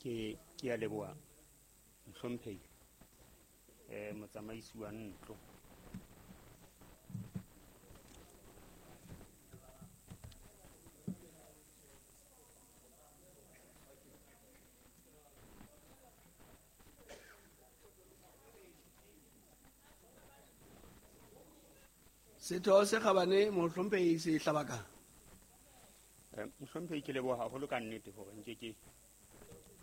Ke a leboha, mohlomphehi, motsamaisi wa ntlo. Setho se kgabane, mohlomphehi Sehlabaka. Mohlomphehi, ke leboha haholo ka nnete hore nke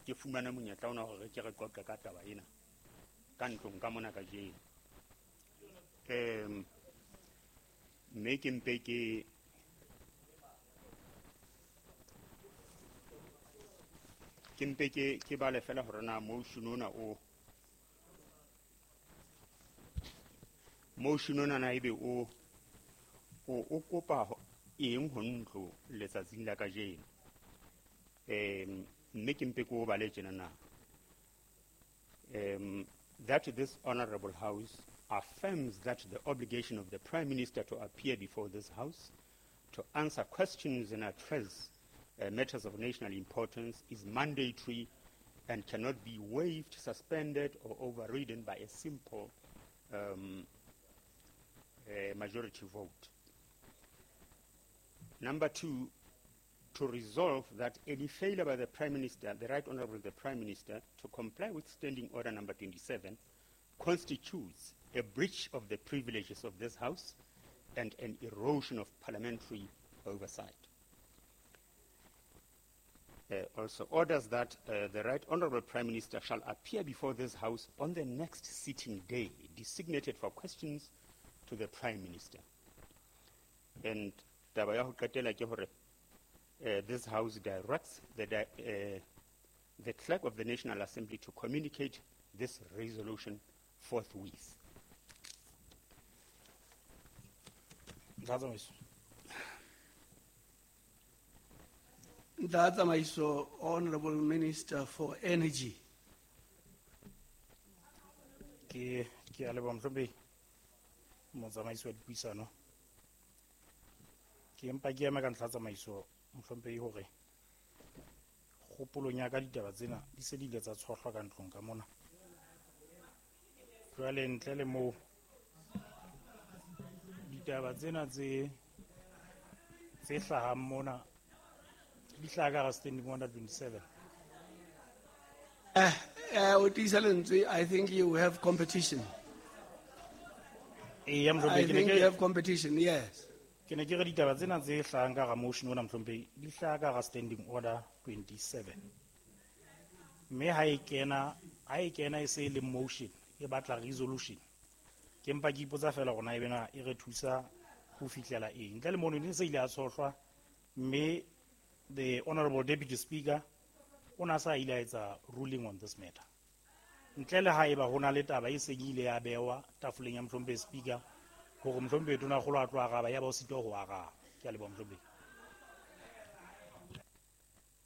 ke fumane monyetla ona hore ke re qoqe ka taba ena ka ntlong ka mona kajeno. Mme ke mpe ke bale fela hore na motion ona o motion ona na ebe o kopa eng ho ntlo letsatsing la kajeno. Mme ke mpe ke o bale tjena na. That this honorable house affirms that the obligation of the Prime Minister to appear before this house to answer questions and address matters of national importance is mandatory and cannot be waived, suspended, or overridden by a simple majority vote. Number two, to resolve that any failure by the Prime Minister, the Right Honorable the Prime Minister, to comply with Standing Order number 27 constitutes a breach of the privileges of this House and an erosion of parliamentary oversight. Also orders that the Right Honorable Prime Minister shall appear before this House on the next sitting day designated for questions to the Prime Minister. And taba ya ho qetela ke hore, this House directs the Clerk of the National Assembly to communicate this resolution forthwith. Ntlha tsamaiso. Ntlha tsamaiso, Honorable Minister for Energy. Ke a leboha, mohlomphehi motsamaisi wa dipuisano. Ke mpa ke ema ka ntlha tsamaiso, mohlomphehi, hore kgopolong ya ka ditaba tsena di se di ile tsa tshohlwa ka ntlong ka mona. Jwale ntle le moo ditaba tsena tse hlahang mona di hlaha ka hara Standing Order 27. O tiisa lentswe, I think you have competition. Eya, mohlomphehi, I ke ne think ke you have competition, yes. Ke ne ke re ditaba tsena tse hlahang ka hara motion ona, mohlomphehi, di hlaha ka hara Standing Order 27. Mme ha e kena e se e le motion, e batla resolution. Ke mpa ke ipotsa fela hore na ebe na e re thusa ho fihlela eng. Ntle le mono, ne se ile a tshohlwa, mme the Honorable Deputy Speaker o na sa ile a etsa ruling on this matter. Ntle le ha eba ho na le taba e seng ile ya bewa tafoleng ya mohlomphehi Speaker hore mohlomphehi Tonakgolo a tlo araba, ya ba o sitwa ho araba. Ke a leboha, mohlomphehi.